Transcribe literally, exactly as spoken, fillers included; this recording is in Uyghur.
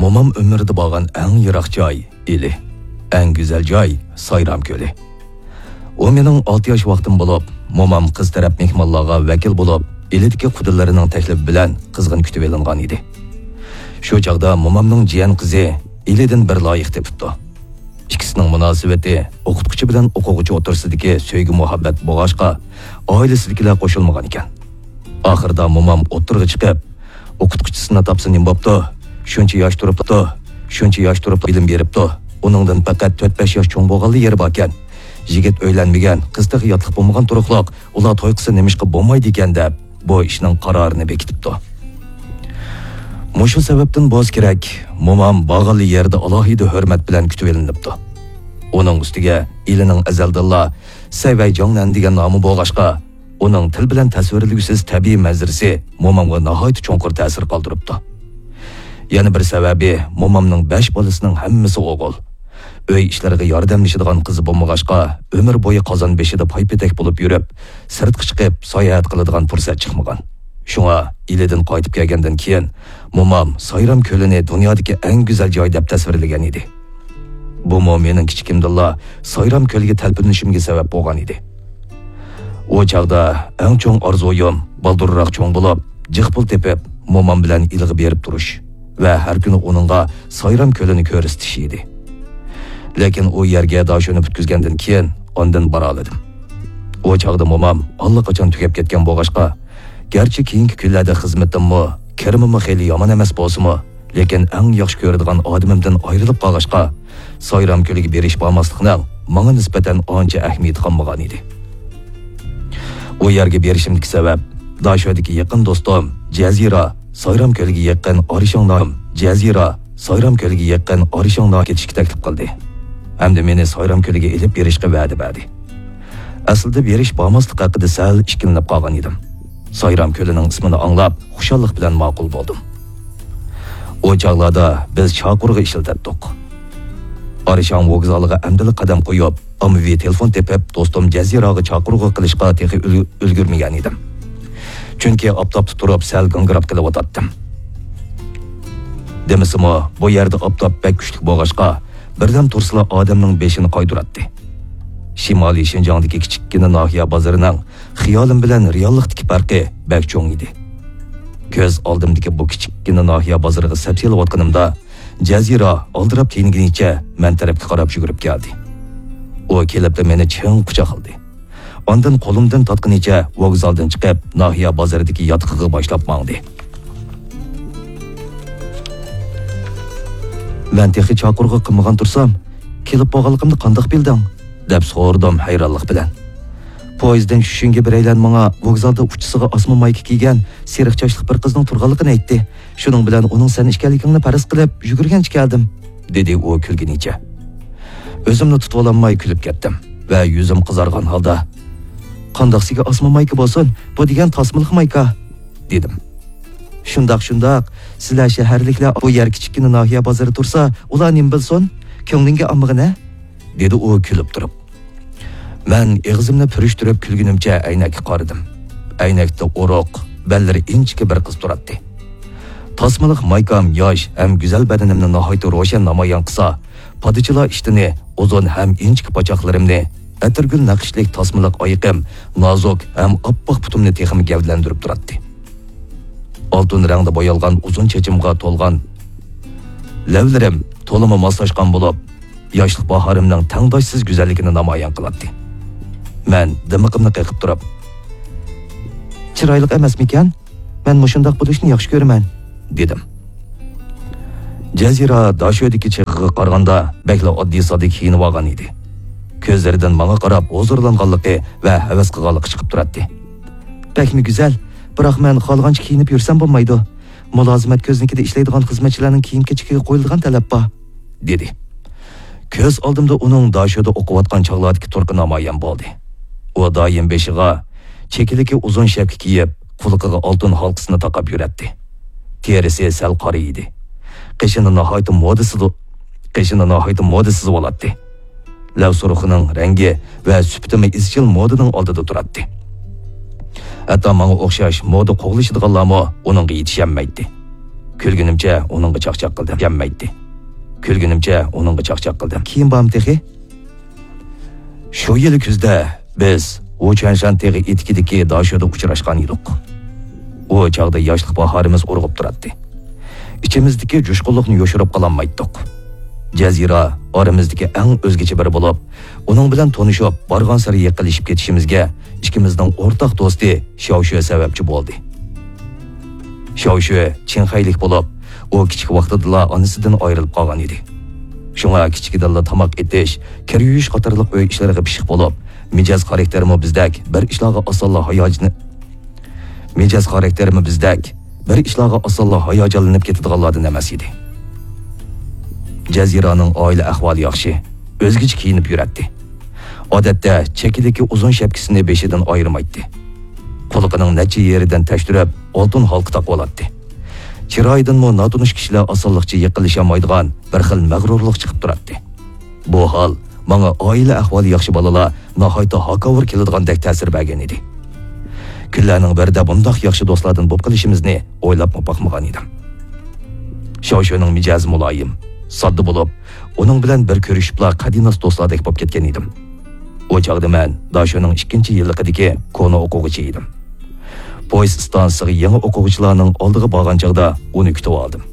مومام ئۆمرىدە بارغان ئەڭ يىراق جاي ئىلى، ئەڭ گۈزەل جاي سايرام كۆلى. ئۇ مېنىڭ ئالتە ياش ۋاقتىم بولۇپ، مومام قىز تەرەپ مېھمانلارغا ۋەكىل بولۇپ، ئىلىدىكى قۇدىلىرىنىڭ تەكلىپى بىلەن قىزغىن كۈتۈۋېلىنغان ئىدى. شۇ چاغدا مومامنىڭ جىيەن قىزى ئىلىدىن بىر لايىق تېپىپتۇ. ئىككىسىنىڭ مۇناسىۋىتى ئوقۇتقۇچى بىلەن ئوقۇغۇچى ئوتتۇرىسىدىكى سۆيگۈ مۇھەببەت بولغاچقا، ئائىلىسىدىكىلەر قوشۇلمىغان ئىكەن. ئاخىرىدا مومام ئوتتۇرىغا چىقىپ، ئوقۇتقۇچىسىنى تاپسا نېمە بوپتۇ؟ شۇنچە ياش تۇرۇپتۇ، شۇنچە ياش تۇرۇپ بىلىم بېرىپتۇ. ئۇنىڭدىن پەقەت تۆت-بەش ياش چوڭ بولغانلا يېرى باركەن. يىگىت ئۆيلەنمىگەن، قىز تېخى ياتلىق بولمىغان تۇرۇقلۇق، ئۇلار توي قىلسا نېمىشقا بولمايدىكەن دەپ، بۇ ئىشنىڭ قارارىنى بېكىتىپتۇ. مۇشۇ سەۋەبتىن بولسا كېرەك، مومام بارغانلا يەردە ئالاھىدە ھۆرمەت بىلەن كۈتۈۋېلىنىپتۇ. ئۇنىڭ ئۈستىگە ئىلىنىڭ ئەزەلدىنلا سەيۋەي جاڭنەن دېگەن نامى بولغاچقا، ئۇنىڭ تىل بىلەن تەسۋىرلىگۈسىز تەبىئىي مەنزىرىسى مومامغا ناھايىتى چوڭقۇر تەسىر قالدۇرۇپتۇ. يەنە بىر سەۋەبى، مومامنىڭ بەش بالىسىنىڭ ھەممىسى ئوغۇل. ئۆي ئىشلىرىغا ياردەملىشىدىغان قىزى بولمىغاچقا، ئۆمۈر بويى قازان بېشىدا پايپېتەك بولۇپ يۈرۈپ، سىرتقا چىقىپ ساياھەت قىلىدىغان پۇرسەت چىقمىغان. شۇڭا ئىلىدىن قايتىپ كەلگەندىن كېيىن، مومام سايرام كۆلىنى دۇنيادىكى ئەڭ گۈزەل جاي دەپ تەسۋىرلىگەن ئىدى. بۇمۇ مېنىڭ كىچىكىمدىنلا سايرام كۆلىگە تەلپۈنۈشۈمگە سەۋەب بولغان ئىدى. ئۇ چاغدا ئەڭ چوڭ ئارزۇيۇم بالدۇرراق چوڭ بولۇپ، جىق پۇل تېپىپ، مومام بىلەن ئىلىغا بېرىپ تۇرۇش ۋە ھەر كۈنى ئۇنىڭغا سايرام كۆلىنى كۆرسىتىش ئىدى. لېكىن ئۇ يەرگە داشۆنى پۈتكۈزگەندىن كېيىن ئاندىن بارالىدىم. ئۇ چاغدا مومام ئاللىقاچان تۈگەپ كەتكەن بولغاچقا، گەرچە كېيىنكى كۈنلەردە خىزمىتىممۇ، كىرىمىممۇ خېلى يامان ئەمەس بولسىمۇ، لېكىن ئەڭ ياخشى كۆرىدىغان ئادىمىمدىن ئايرىلىپ قالغاچقا، سايرام كۆلىگە بېرىش بارماسلىقنىڭ ماڭا نىسبەتەن ئانچە ئەھمىيىتى قالمىغان ئىدى. ئۇ يەرگە بېرىشىمدىكى سەۋەب، داشۆدىكى يېقىن دوستۇم جەزىرە سايرام كۆلىگە يېقىن ئارىشاڭ ناھىيەم، جەزىرە سايرام كۆلىگە يېقىن ئارىشاڭ ناھىيەگە كېتىشكە تەكلىپ قىلدى ھەمدە مېنى سايرام كۆلىگە ئېلىپ بېرىشقا ۋەدە بەردى. ئەسلىدە بېرىش بارماسلىق ھەققىدە سەل ئىككىلىنىپ قالغان ئىدىم. سايرام كۆلىنىڭ ئىسمىنى ئاڭلاپ، خۇشاللىق بىلەن ماقۇل بولدۇم. ئۇ چاغلاردا بىز چاقىرغۇ ئىشلىتەتتۇق. ئارىشاڭ ۋوگزالىغا ئەمدىلا قەدەم قويۇپ، ئاممىۋى تېلېفون تېپىپ، دوستۇم جەزىرەگە چاقىرغۇ قىلىشقا تېخى ئۈل-، ئۈلگۈرمىگەن ئىدىم. چۈنكى ئاپتاپتا تۇرۇپ سەل گاڭگىراپ قېلىۋاتاتتىم. دېمىسىمۇ، بۇ يەردە ئاپتاپ بەك كۈچلۈك بولغاچقا، بىردەم تۇرسىلا ئادەمنىڭ بېشىنى قايتۇراتتى. شىمالىي شىنجاڭدىكى كىچىككىنە ناھىيە بازىرىنىڭ خىيالىم بىلەن رېئاللىقتىكى پەرقى بەك چوڭ ئىدى. كۆز ئالدىمدىكى بۇ كىچىككىنە ناھىيە بازىرىغا سەپسېلىۋاتقىنىمدا، جەزىرە ئالدىراپ تېنىگىنىچە مەن تەرەپكە قاراپ يۈگۈرۈپ كەلدى. ئۇ كېلىپلا مېنى چىڭ قۇچاقلىدى. ئاندىن قولۇمدىن تارتقىنىچە ۋوگزالدىن چىقىپ، ناھىيە بازىرىدىكى ياتىقىغا باشلاپ ماڭدى. مەن تېخى چاقىرغۇ قىلمىغان تۇرسام، كېلىپ بولغانلىقىمنى قانداق بىلدىڭ؟ دەپ سورىدىم ھەيرانلىق بىلەن. پويىزدىن چۈشۈشۈڭگە بىرەيلەن ماڭا ۋوگزالدا ئۇچىسىغا ئاسما مايكا كىيگەن سېرىق چاچلىق بىر قىزنىڭ تۇرغانلىقىنى ئېيتتى. شۇنىڭ بىلەن ئۇنىڭ سەن ئىكەنلىكىڭنى پەرەز قىلىپ يۈگۈرگەنچە كەلدىم، دېدى ئۇ كۈلگىنىچە. ئۆزۈمنى تۇتۇۋالالماي كۈلۈپ كەتتىم ۋە يۈزۈم قىزارغان ھالدا، قانداقسىگە ئاسما مايكا بولسۇن، بۇ دېگەن تاسمىلىق مايكا، دېدىم. شۇنداق، شۇنداق، سىلەر شەھەرلىكلەر بۇ يەر كىچىككىنە ناھىيە بازىرى تۇرسا، ئۇلار نېمە بىلسۇن؟ كۆڭلۈڭگە ئالمىغىنە، دېدى ئۇ كۈلۈپ تۇرۇپ. مەن ئېغىزىمنى پۈرۈشتۈرۈپ كۈلگىنىمچە ئەينەككە قارىدىم. ئەينەكتە ئورۇق، بەللىرى ئىنچىكە بىر قىز تۇراتتى. تاسمىلىق مايكام ياش ھەم گۈزەل بەدىنىمنى ناھايىتى روشەن نامايان قىلسا، پادىچىلا ئىشتىنى ئۇزۇن ھەم ئىنچىكە پاچاقلىرىمنى، ئەتىرگۈل نەقىشلىك تاسمىلىق ئايىقىم نازۇك ھەم ئاپئاق پۇتۇمنى تېخىمۇ گەۋدىلەندۈرۈپ تۇراتتى. ئالتۇن رەڭدە بويالغان ئۇزۇن چېچىمغا تولغان لەۋلىرىم تولىمۇ ماسلاشقان بولۇپ، ياشلىق باھارىمنىڭ تەڭداشسىز گۈزەللىكىنى نامايان قىلاتتى. مەن دىمىقىمنى قېقىپ تۇرۇپ، «چىرايلىق ئەمەسمىكەن؟ مەن مۇشۇنداق بولۇشنى ياخشى كۆرىمەن»، دېدىم. جەزىرە داشۆدىكى چېغىغا قارىغاندا بەكلا ئاددىي-ساددا كىيىنىۋالغان ئىدى. كۆزلىرىدىن ماڭا قاراپ ھۇزۇرلانغانلىقى ۋە ھەۋەس قىلغانلىقى چىقىپ تۇراتتى. «بەكمۇ گۈزەل، بىراق مەن خالىغانچە كىيىنىپ يۈرسەم بولمايدۇ. مۇلازىمەت كۆزنىكىدە ئىشلەيدىغان خىزمەتچىلەرنىڭ كىيىم-كېچىكىگە قويۇلىدىغان تەلەپ بار»، دېدى. كۆز ئالدىمدا ئۇنىڭ داشۆدە ئوقۇۋاتقان چاغلاردىكى تۇرقى نامايان بولدى. ئۇ دائىم بېشىغا چېكىلىكى ئۇزۇن شەپكە كىيىپ، قۇلىقىغا ئالتۇن ھالقىسىنى تاقاپ يۈرەتتى. تېرىسى سەل قارا ئىدى. قېشىنى ناھايىتى مودا سىزىۋ-، قېشىنى ناھايىتى مودا سىزىۋالاتتى. لەۋ سۇرۇخىنىڭ رەڭگى ۋە سۈپىتىمۇ ئىزچىل مودىنىڭ ئالدىدا تۇراتتى. ھەتتا ماڭا ئوخشاش مودا قوغلىشىدىغانلارمۇ ئۇنىڭغا يېتىشەلمەيتتى. كۈلگىنىمچە ئۇنىڭغا چاقچاق قىلدىم. يەنمەيتتى. كۈلگىنىمچە ئۇنىڭغا چاقچاق قىلدىم. كېيىن بارمۇ تېخى؟ شۇ يىلى كۈزدە بىز ۋۇچۈەنشان تېغى ئېتىكىدىكى داشۆدە ئۇچراشقان ئىدۇق. ئۇ چاغدا ياشلىق باھارىمىز ئۇرغۇپ تۇراتتى. ئىچىمىزدىكى جۇشقۇنلۇقنى يوشۇرۇپ قالالمايتتۇق. جەزىرە ئارىمىزدىكى ئەڭ ئۆزگىچە بىرى بولۇپ، ئۇنىڭ بىلەن تونۇشۇپ، بارغانسېرى يېقىنلىشىپ كېتىشىمىزگە ئىككىمىزنىڭ ئورتاق دوستى شياۋشۈە سەۋەبچى بولدى. شياۋشۈە چىڭخەيلىك بولۇپ، ئۇ كىچىك ۋاقتىدىلا ئانىسىدىن ئايرىلىپ قالغان ئىدى. شۇڭا كىچىكىدىنلا تاماق ئېتىش، كىر يۇيۇش قاتارلىق ئۆي ئىشلىرىغا پىششىق بولۇپ، مىجەز خاراكتېرىمۇ بىزدەك بىر ئىشلارغا ئاسانلا ھاياجىنى-، مىجەز خاراكتېرىمۇ بىزدەك بىر ئىشلارغا ئاسانلا ھاياجانلىنىپ كېتىدىغانلاردىن ئەمەس ئىدى. جەزىرانىڭ ئائىلە ئەھۋالى ياخشى، ئۆزگىچە كىيىنىپ يۈرەتتى. ئادەتتە چېكىدىكى ئۇزۇن شەپكىسىنى بېشىدىن ئايرىمايتتى. قۇلىقىنىڭ نەچچە يېرىدىن تەكشۈرۈپ، ئالتۇن ھالقا تاقىۋالاتتى. چىرايىدىنمۇ ناتونۇش كىشىلەر ئاسانلىقچە يېقىنلىشالمايدىغان بىر خىل مەغرۇرلۇق چىقىپ تۇراتتى. بۇ ھال ماڭا ئائىلە ئەھۋالى ياخشى بالىلار ناھايىتى ھاكاۋۇر كېلىدىغاندەك تەسىر بەرگەن ئىدى. كۈنلەرنىڭ بىرىدە بۇنداق ياخشى دوستلاردىن بولۇپ قېلىشىمىزنى ئويلاپمۇ باقمىغان ئىدىم. شاۋشۈنىڭ مىجەزى مۇلايىم، ساددا بولۇپ، ئۇنىڭ بىلەن بىر كۆرۈشۈپلا قەدىناس دوستلاردەك بولۇپ كەتكەن ئىدىم. ئۇ چاغدا مەن داشۆنىڭ ئىككىنچى يىللىقىدىكى كونا ئوقۇغۇچى ئىدىم. پويىز ئىستانسىسىغا يېڭى ئوقۇغۇچىلارنىڭ ئالدىغا بارغان چاغدا ئۇنى كۈتۈۋالدىم.